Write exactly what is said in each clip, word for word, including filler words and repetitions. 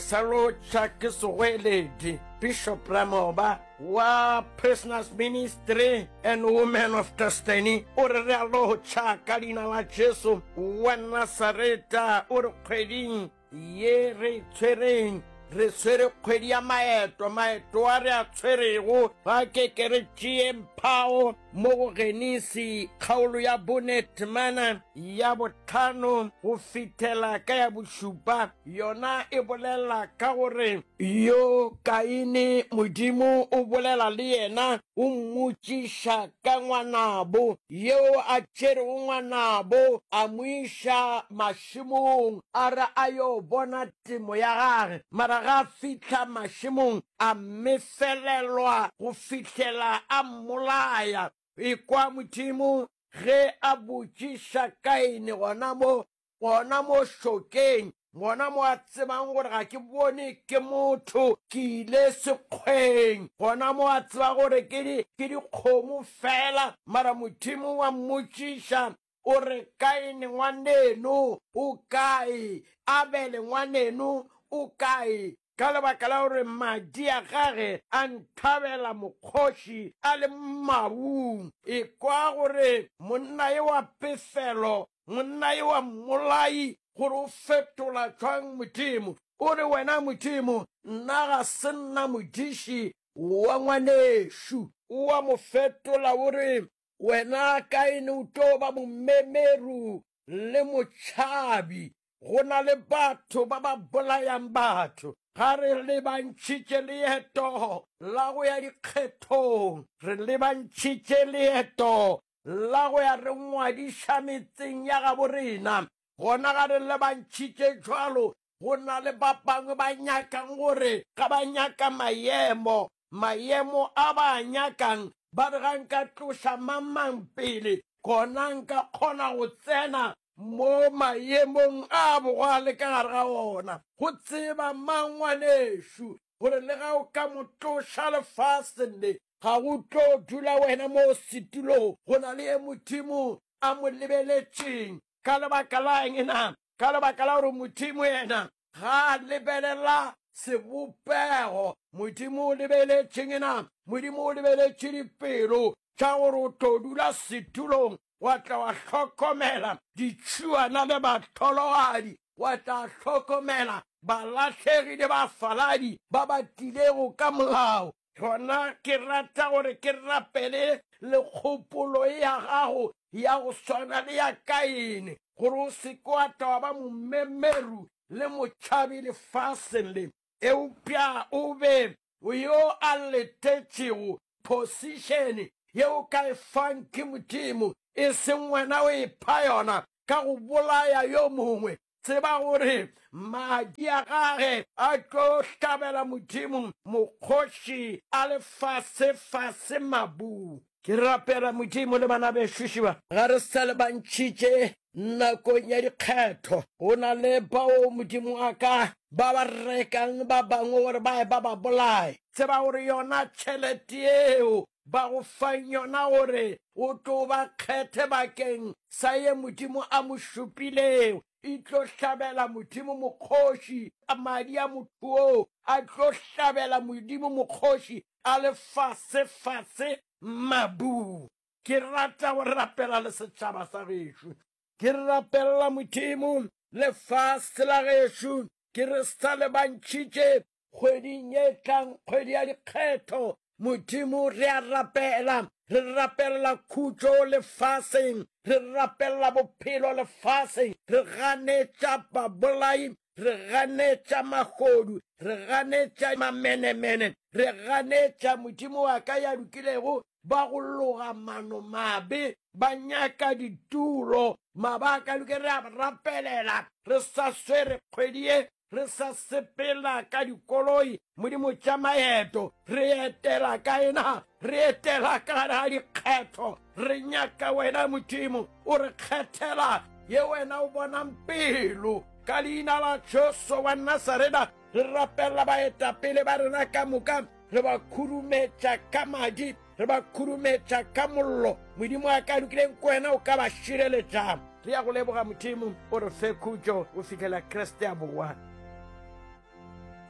Sa lotšha ke segoeledi Bishop Ramoba wa Prisoners Ministry and Women of Destiny o re re a lotšha ka leina la Jesu wa Nasareta o re kgweding ye re e tshwereng re tshwere kgwedi ya maeto maeto a re a tshwerego ga ke ke re tšee mphao mo go Genesi kgaolo ya bone temana ya botlhano go fihlela ka ya bošupa yona e bolela ka gore yo Kaine Modimo o bolela le yena o mmotšiša ka ngwanabo yeo a tšerego ngwanabo a mo iša mašemong a re a yo bona temo ya gage mara ga a fihla mašemong a mmefelelwa go fihlela a mmolaya. Ekwa Modimo ge a botšiša Kaine gona mo, gona mo šokeng, gona mo a tsebang gore ga ke bone ke motho, ke ile sekgweng, gona mo a tseba gore ke di, ke dikgomo fela, mara Modimo wa mmotšiša o re, Kaine ngwaneno o kae? Abele ngwaneno o kae? Ka lebaka la gore madi a gage a nthabela mokgoši a le mabung. Ekwa gore monna yo wa pefelo, monna yo wa mmolai, gore o fetola jwang Modimo. O re, Wena Modimo, nna ga se nna modiši wa ngwanešu. O a mo fetola o re, Wena Kaine o tlo ba momemeru le motšhabi. Go na le batho ba ba bolayang batho. Ga re lebantšhitše leeto la go ya dikgethong, re lebantšhitše leeto la go ya re ngwadiša metseng ya gabo rena. Gona ga re lebantšhitše jwalo, go na le ba bangwe ba nyakang gore ga ba nyaka maemo, maemo a ba a nyakang, ba re ga nka tloša mang mang pele, gona nka kgona go tsena mo maemong a bogale ka gare ga ona. Go tseba mang ngwanešu gore le ga o ka mo tloša lefaseng le, ga go tlo dula wena mo setulong, go na le ye Modimo a mo lebeletšeng. Ka lebaka la eng na? Ka lebaka la gore Modimo yena ga a lebelela sebopego. Modimo o lebeletšeng na? Modimo o lebeletše dipelo tša gore o tlo dula setulong wa tla wa hlokomela ditšhuana le bahlologadi, wa tla hlokomela balahlegi le bafaladi ba ba tlilego ka molao. Gona ke rata gore ke rapele le kgopolo ya gago ya go swana le ya Kaine, gore o se ke wa tla wa ba momemeru le motšhabi lefaseng le, eupša o be yo a letetšego position ye o ka e fang ke Modimo, e seng wena o e pha yona ka go bolaya yo mongwe. Tseba gore madi a gage a tlo hlabela Modimo mokgoši a le fase-fase mabung. Ke rapela Modimo le bana bešo šiba, ga re sa le bantšhitše nakong ya dikgetho. Go na le bao Modimo wa ka ba ba rekang ba bangwe gore ba ye ba ba bolaye. Tseba gore yona tšhelete yeo ba go fang yona gore o tlo ba kgethe bakeng sa ye Modimo a mo šupilego, e tlo hlabela Modimo mokgoši. Madi a motho oo a tlo hlabela Modimo mokgoši a le fase-fase mabung. Ke rata go rapela le setšhaba sa gešo. Ke rapelela Modimo lefase la gešo. Ke re sa le bantšhitše kgweding ye tlang, kgwedi ya dikgetho. Modimo, re a rapela. Re rapelela khutšo lefaseng. Re rapelela bophelo lefaseng. Re ganetša babolai. Re ganetša mahodu. Re ganetša mamenemene. Re ganetša Modimo wa ka ya lokilego ba go loga mano mabe, ba nyaka ditulo. Mabaka loke re a rapelela re sa swere kgwedi ye, re sa sepela ka dikoloi, Modimo tša maeto, re etela kae na? Re etela ka gare ga dikgetho. Re nyaka wena Modimo o re kgethela ye wena o bonang pelo. Ka leina la Jesu wa Nasareta re rapelela baetapele ba rena ka moka, re ba khurumetša ka madi, re ba khurumetša ka mollo. Modimo a ka lokileng ko wena o ka ba šireletša. Re ya go leboga Modimo, o re fe khutšo go fihlela Kriste a boa.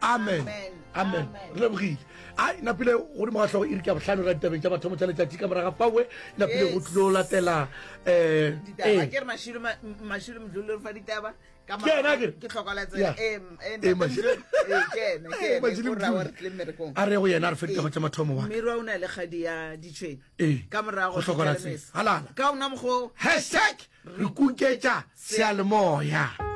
Amen, amen. Re lebogile. A napile godimo ga hlogo iri ke ya bohlano ra ditabeng tša mathomo tša letšatši. Ka moraga fawe napile go tlilo latela um ditaba ke re Mashilo Ma- M- Mashilo Mdluli re fa ditaba ka Ke yena akere? ke hloka la Yeah. tsela eh m- eh, Eh, ntate Mashilo. Mdluli. Eh, ke ena ke Eh, ena Mashilo o ra wa Mdluli. re tlile mmerekong A re go yena a re fe ditaba tša mathomo wa Mmirwa o na le kgadi ya ditšhwene Ee. ka morago Go hloka la Fitlha le tsela. mesa. Halala. Ka ona mokgwa Hashtag re kuketša seyalemoya.